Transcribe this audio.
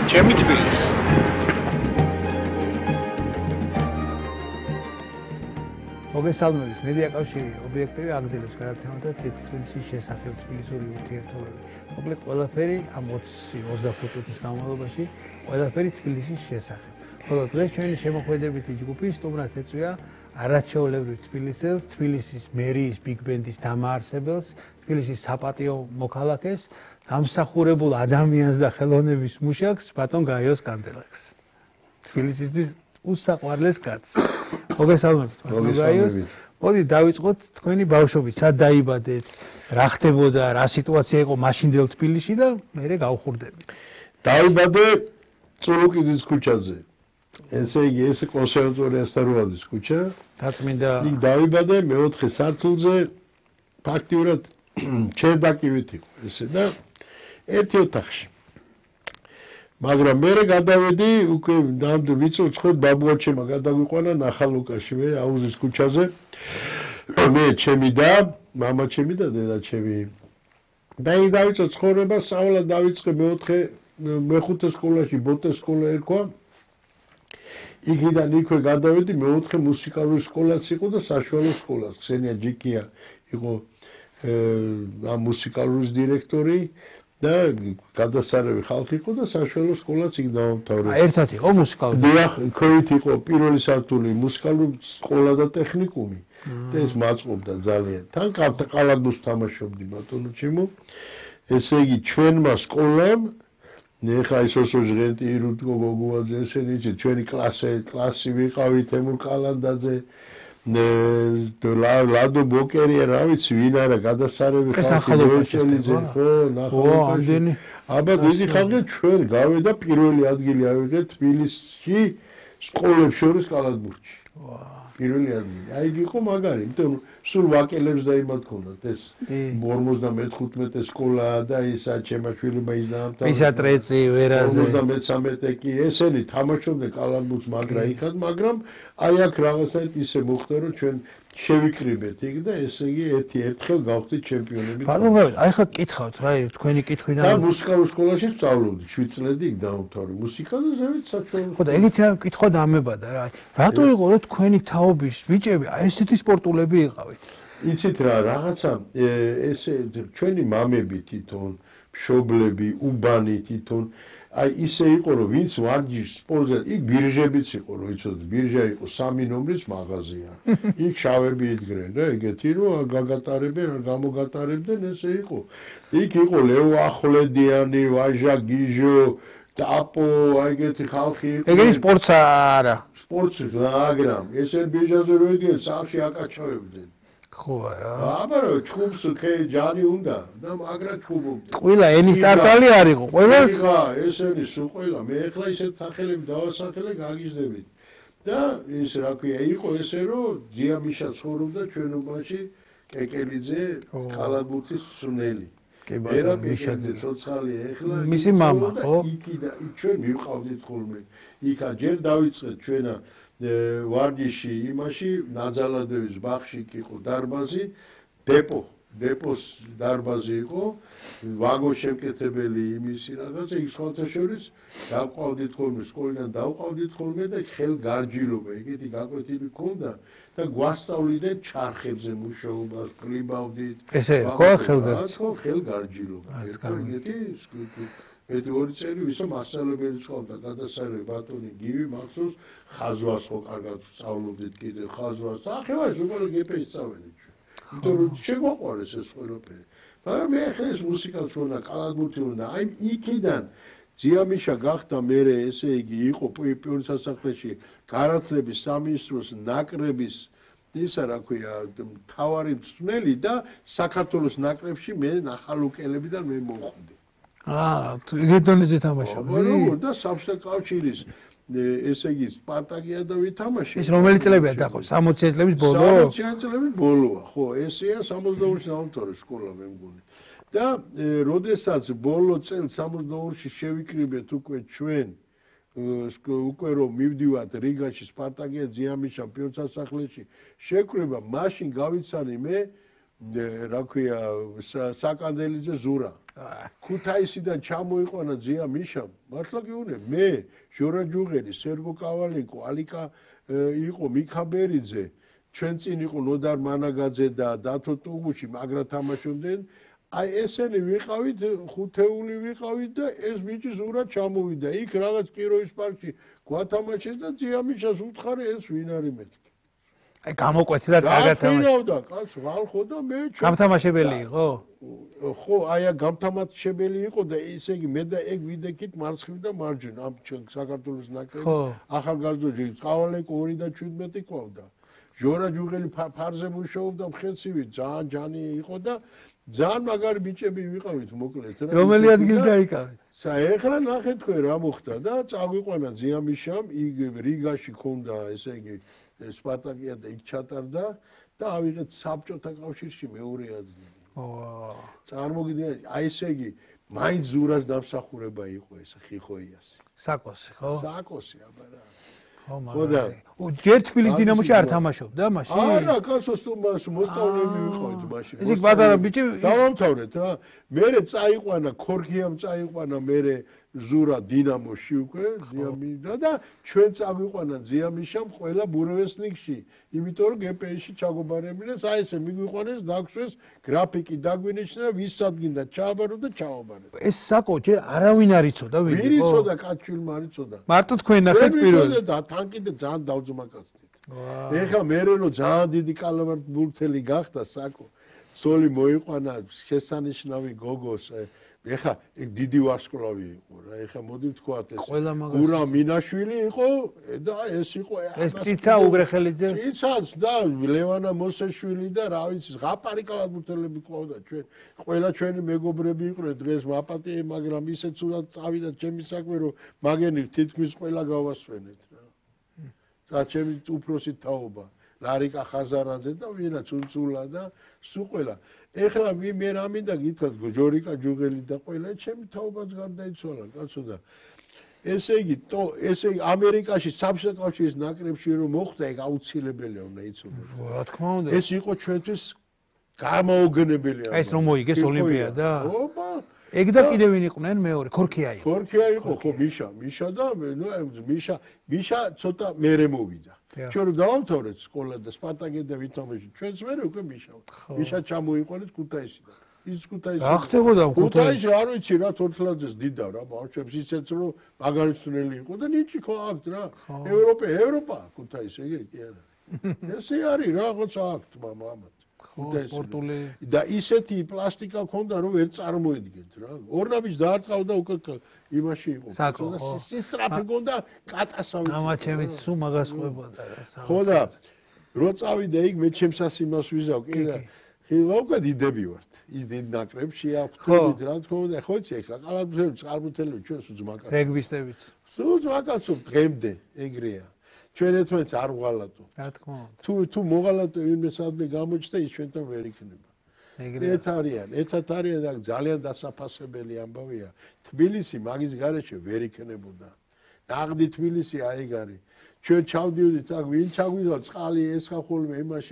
ჩემი თბილისი. მოგესალმებით, მედია კავშირი ობიექტივი აგზელებს გადაცემათა ციკლს თბილისის შესახებ თბილისური ურთიერთობები. მოკლედ ყველაფერი ამ 20-25 წუთის განმავლობაში ყველაფერი თბილისის შესახებ. ხოლო დღეს ჩვენი შემოქმედებითი ჯგუფი სტუმრად ეწვია არაჩვეულებრივ თბილისელს, თბილისის მერიის ბიგ ბენდის დამაარსებელს, თბილისის საპატიო მოქალაქეს, გამსახურებულ ადამიანს და ხელოვნების მუშაკს, ბატონ გაიოს კანდელაკს. თბილისისთვის უსაყვარლეს კაცს. მოგესალმებით, ბატონ გაიოს. მოდი დავიწყოთ თქვენი ბავშვობით, სად დაიბადეთ, რა ხდებოდა, რა სიტუაცია იყო მაშინდელ თბილისში და მერე გავხურდებით. დაიბადე წულუკიძის ქუჩაზე. ესე იგი, ეს კონსერვატორიას თარუადის ქუჩა. დაწმინდა. იქ დაიბადე მეოთხე სართულზე, ფაქტიურად ჩერდაკივით იყო ესე და ერთი ოთახში. მაგრამ მე გადავედი უკვე ნამდვილ ვიწოცხოდ ბაბუაჩემა გადაგვიყვანა ნახალუკაში მე აუზის ქუჩაზე. მე ჩემი და მამაჩემი და დედაჩემი. და იქ დავიწყე ცხოვრება, სწავლა დავიწყე მეხუთე სკოლაში ბოტეს სკოლა ერქვა. იქიდან იქვე გადავედი მეოთხე მუსიკალური სკოლაც იყო და საშუალო სკოლაც. ქსენია ჯიკია იყო ამ მუსიკალურის დირექტორი და გადასარევი ხალხი იყო და საშუალო სკოლაც იქ დავამთავრე. ერთად იყო მუსიკალური. დიახ, ქვევით იყო პირველი სართული მუსიკალური სკოლა და ტექნიკუმი. და ეს მაწყობდა ძალიან. თან ყალადოს თამაშობდი ბატონო ჩემო. ესე იგი ჩვენმა სკოლამ ნეხა ისოსო ჟღენტი ირუტკო გოგუაძე ესენი იცი ჩვენი კლასი ვიყავით ემურ კალანდაძე ლადო ბოკერია რა ვიცი ვინ არა გადასარევი ხალხი დოეშელიძე ხო ნახალუკაში აბა დიდი ხალხი ჩვენ გავედა პირველი ადგილი ავიღეთ თბილისში სკოლებს შორის კალათბურთში პირველი ადგილი აი იყო მაგარი იმიტომ სულ ვაკელებს და იმათ ქონდათ ეს 55 სკოლა და ისა ჩემაშვილმა ის დაამთავრა პისატრეცი ვერაზე 53 კი ესენი თამაშობდნენ კალათბურთს მაგრამ აი აქ რაღაცა ისე მოხდა რომ ჩვენ შევიკრიბეთ იქ და ესე იგი ერთხელ გავხდით ჩემპიონები ბატონო აი ხა კითხავთ რა თქვენი კითხვიდან და მუსიკალურ სკოლაში ვსწავლობდი 7 წლები იქ დავამთავრე მუსიკა და ზევით საშუალო ხო და ეგეთი რა კითხვა დამებადა რა რატო იყო რომ თქვენი თაობის ბიჭები აი ესეთი სპორტულები იყავით იცით რა რაღაცა ესე ჩვენი მამები თვითონ მშობლები უბანი თვითონ აი ისე იყო რომ ვინც ვარჯიშს სპორტზე იქ ბირჟებიც იყო რომ იცოდეთ ბირჟა იყო 3 ნომრის მაღაზია იქ შავები იდგნენ და ეგეთი რომ გაგატარებენ გამოგატარებდნენ ესე იყო იქ იყო ლევო ახვლედიანი ვაჟა გიჟო ტაპო აი ეგეთი ხალხი იყო ეგენი სპორტსა არა სპორტი მაგრამ ესე ბირჟაზე რო იდგნენ სახში აკაჩავებდნენ ხო არა აბა ჩხუბს ჯანი უნდა და მაგრა ჩხუბობდნენ ყველა ენის ტარტალი არისო ყველას ხა ესენი სულ ყველა მე ახლა ისეთ სახელები დავასახელე გაგიჟდებით და ის რა ქვია იყო ესე რომ ძიამიშა ცხოვრობდა ჩვენობაში კეკელიძე კალათბურთის სუნელი ერა კეკელიძე ცოცხალი ახლა მისი მამა ხო იქიდან ჩვენ მივყავდით ხოლმე იქა ჯერ დავიწყეთ ჩვენა ვარჯიში იმაში ნაძალადევის ბაღში იყო დარბაზი დეპოს დარბაზი იყო ვაგონ შემკეთებელი იმისი რაღაცა იქ სხვათა შორის დავყავდით ხოლმე სკოლიდან დავყავდით ხოლმე და ხელგარჯილობა ეგეთი გაკვეთილი ქონდა და გვასწავლდნენ ჩარხებზე მუშაობას კლიბავდით ესე ხო ხელგარჯილობა ეგეთი ერთი ორი წელი ვისო მასწავლებელი წავდა გადასარევი ბატონი გივი მახსოვს ხაზვას ხო კარგად სწავლობდით კიდე ხაზვას და ახლა ზოგადად გეპეს სწავლეთ ჩვენ იმიტომ რომ შეგვაყვარეს ეს ყველაფერი მაგრამ მე ახლა ეს მუსიკაც უნდა კალათბურთი უნდა აი იქიდან ძიამიშა გახდა მე ესე იგი იყო პიონის სასახლეში განათლების სამინისტროს ნაკრების ისა რა ქვია მთავარი მწვრთნელი და საქართველოს ნაკრებში მე ნახალუკელებიდან მე მოვხვდი ეგეთონეზე თამაშობდი და საბჭოთა კავშირის ესე იგი სპარტაკია და ვითამაშე ეს რომელი წლებია დაყო 60 წლების ბოლო 60 წლების ბოლოა ხო ესეა 62-ში დავამთავრე სკოლა მე მგონი და როდესაც ბოლო წელს 62-ში შევიკრიბეთ უკვე ჩვენ უკვე რომ მივდივართ რიგაში სპარტაკია ძიამიშა პიონის სასახლეში შეკრება მაშინ გავიცანი მე რა ქვია საკანდელიძე ზურა ქუთაისიდან ჩამოიყვანა ძია მიშამ მართლა გიუნე მე ჟორა ჯუღელი სერგო კავალინკო ალიკა იყო მიქაბერიძე ჩვენ წინ იყო ნოდარ მანაგაძე და დათო ტუგუში მაგრა თამაშობდნენ აი ესენი ვიყავით ხუთეული ვიყავით და ეს ბიჭი ზურად ჩამოვიდა იქ რაღაც კიროვის პარკში გვათამაშეს და ძია მიშას უთხარი ეს ვინ არის მეთქი აი გამოკვეთილად კარგად თამაში და კაცო ხალხო და მე გამთამაშებელი იყო ხო აი გამთამაშებელი იყო და ესე იგი მე და ეგ ვიდექით მარცხნივ და მარჯვნივ ამ საქართველოს ნაკრები ახალგაზრდობი წავალეკო 2017 ყავდა ჟორა ჯუღელი ფარზე მუშაობდა მხეცივი ძალიან ჯანი იყო და ძალიან მაგარი ბიჭები ვიყავით მოკლედ რომელი ადგილი დაიკავეთ ეხლა ნახეთ თქვენ რა მოხდა და წაგვიყვანა ძია მიშამ იქ რიგაში ქონდა ესე იგი სპარტაკია და იქ ჩატარდა და ავიღეთ საბჭოთა კავშირში მეორე ადგილი წარმოგიდგენთ აი ესე იგი მაინც ზურას დამსახურება იყო ეს ხიხოიასი საკოსი ხო საკოსი აბა რა ხო და ჯერ თბილისის დინამოში არ თამაშობდა მაშინ არა კაცოს მოსწავლეები ვიყავით მაშინ ის პატარა ბიჭი დავამთავრეთ რა მერე წაიყვანა ქორქიამ წაიყვანა მერე ზურა დინამოში უკვე ზიამიდა და ჩვენ წაგვიყვანა ზიამიშამ ყველა ბურევესნიკში იმიტომ რომ გპ-ში ჩაგობარებინეს აი ესე მიგვიყვანეს დაგვსვეს გრაფიკი დაგვინიშნა ვისაც გინდა ჩააბარო და ჩააბარეთ ეს საკო ჯერ არავინ არ იცოდა ვინ იყო ვინ იცოდა კაცშვილმა არ იცოდა მარტო თქვენ ნახეთ პირველი და თან კიდე ძალიან დავძმაკაცდით ეხლა მე რომ ძალიან დიდი კალამბურთელი გახდა საკო სოლი მოიყვანა შესანიშნავი გოგოს ეხლა ეგ დიდი ვარსკვლავი იყო რა ეხლა მოდი ვთქვათ ეს გურა მინაშვილი იყო და ეს იყო ეს ციცა უგრეხელიძე ციცაც და ლევანა მოსეშვილი და რა ვიცი ზღაპარი კალათბურთელები ყავდა ჩვენ ყველა ჩვენი მეგობრები იყვნენ დღეს ვაპატიე მაგრამ ისეთ სულად წავიდა ჩემი საქმე რომ მაგენი თითქმის ყველა გავასვენეთ რა და ჩემი უფროსი თაობა ლარიკა ხაზარაძე და ვინა ცუნცულა და სულ ყველა ეხლა მე რა მინდა გითხრათ ჟორიკა ჯუღელი და ყველა ჩემი თაობაც გარდაიცვალა კაცო და ესე იგი ესე ამერიკაში საბჭოთა კავშირის ნაკრებში რომ მოხდა ეგ აუცილებელია უნდა იცოდეთ რა თქმა უნდა ეს იყო ჩვენთვის გამოუგნებელი ეს რომ მოიგეს ოლიმპიადა ოპა ეგ და კიდე ვინ იყვნენ მეორე ქორქია იყო ქორქია იყო ხო მიშა და მიშა ცოტა მერე მოვიდა ჩვენ რომ დავამთავრეთ სკოლა და სპარტაკი და ვითომეში ჩვენც მერე უკვე მიშა ჩამოიყვანეს ქუთაისიდან ის ქუთაისი რა ხდებოდა ქუთაისი არ ვიცი რა თორთლაძეს დიდავ რა ბავშვებს ისეც რომ მაგარიცნელი იყო და ნიჭი ხო აქვთ რა ევროპა ქუთაისი ეგრე კი არა ესე არის რაღაც აქვთ მამამად სპორტული და ისეთი პლასტიკა ქონდა რომ ვერ წარმოედგენთ რა ორნაბიჯ დაარტყავდა უკვე იმაში იყო და სისტრაფე ქონდა კატასავი ამაჩემიც სულ მაგას ყვებოდა რა ხო და რო წავიდა იქ მე ჩემსას იმას ვიზავ კი და ხილავკა დიდები ვართ ის დიდ ნაკრებში აღვთებით რა თქმა უნდა ხო იცი ეხლა კალათბურთელები წყალბურთელები ჩვენ სულ ძმაკაცო რეგბისტებიც სულ ძმაკაცო დღემდე ეგრეა ჩვენ ერთმანეთს არ ვღალატო. რა თქმა უნდა. თუ მოღალატო ვინმე სადმე გამოჩნდა ის ჩვენთან ვერ იქნება. ეგრეა. ერთად არიან და ძალიან დასაფასებელი ამბავია. თბილისი მაგის გარეშე ვერ იქნებოდა. ნაღდი თბილისი აი ეგ არის. ჩვენ ჩავდიოდით აქ ვინ ჩაგვიდა წყალი ესხა ხოლმე იმაში